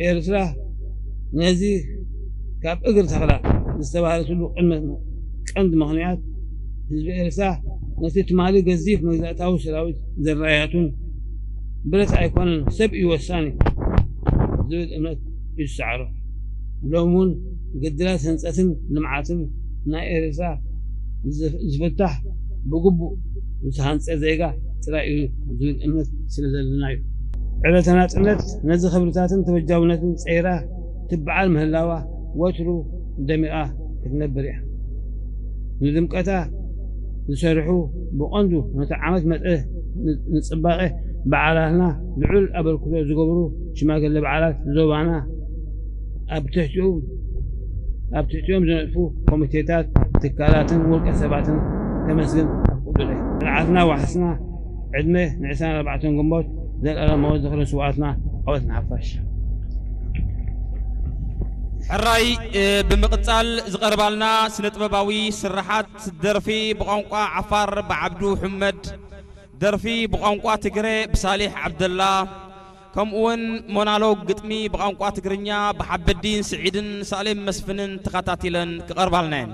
ኤርትራ ነዚ ካብ እግሪ ተኽላ ዝተባህለትሉ ቅድመ ቀንዲ ምኽንያት ህዝቢ ኤርትራ ነቲ ትማሊ ገዚፍ መግዛእታዊ ሰራዊት ዘራያቱን ብረት ኣይኮነን ሰብ እዩ ወሳኒ ዝብል እምነት እዩ ዝሰዓሮ። ሎም እውን ግድላት ህንፀትን ልምዓትን ናይ ኤርትራ ዝፍታሕ ብግቡእ ዝተሃንፀ ዜጋ ጥራይ እዩ ዝብል እምነት ስለ ዘለና እዩ። ዕለተ ናፅነት ነዚ ክብርታትን ተበጃውነትን ፀይራ ትበዓል ምህላዋ ወትሩ ደሚቓ ክትነብር እያ። ንድምቀታ ዝሰርሑ ብቐንዱ ነቲ ዓመት መጸ ንጽባቐ በዓላትና ልዑል ኣበርክቶ ዝገብሩ ሽማግለ በዓላት ዞባና ኣብ ትሕቲኡ ኣብ ትሕቲኦም ዝነጥፉ ኮሚቴታት ትካላትን ውልቀ ሰባትን ከመስግን ኣፍቅዱለይ። መርዓትና ዋሕስና ዕድመ ን24 ግንቦት ዘልኣለማዊ ዝኽሪ ስውኣትና ዓወት ንሓፋሽ። ሕራይ ብምቕጻል ዝቐርባልና ስነ ጥበባዊ ስርሓት ደርፊ ብቋንቋ ዓፋር ብዓብዱ ሕመድ፣ ደርፊ ብቋንቋ ትግረ ብሳሊሕ ዓብደላ፣ ከምኡውን ሞናሎግ ግጥሚ ብቋንቋ ትግርኛ ብሓበዲን ስዒድን ሳሌም መስፍንን ተኸታቲለን ክቐርባልና እየን።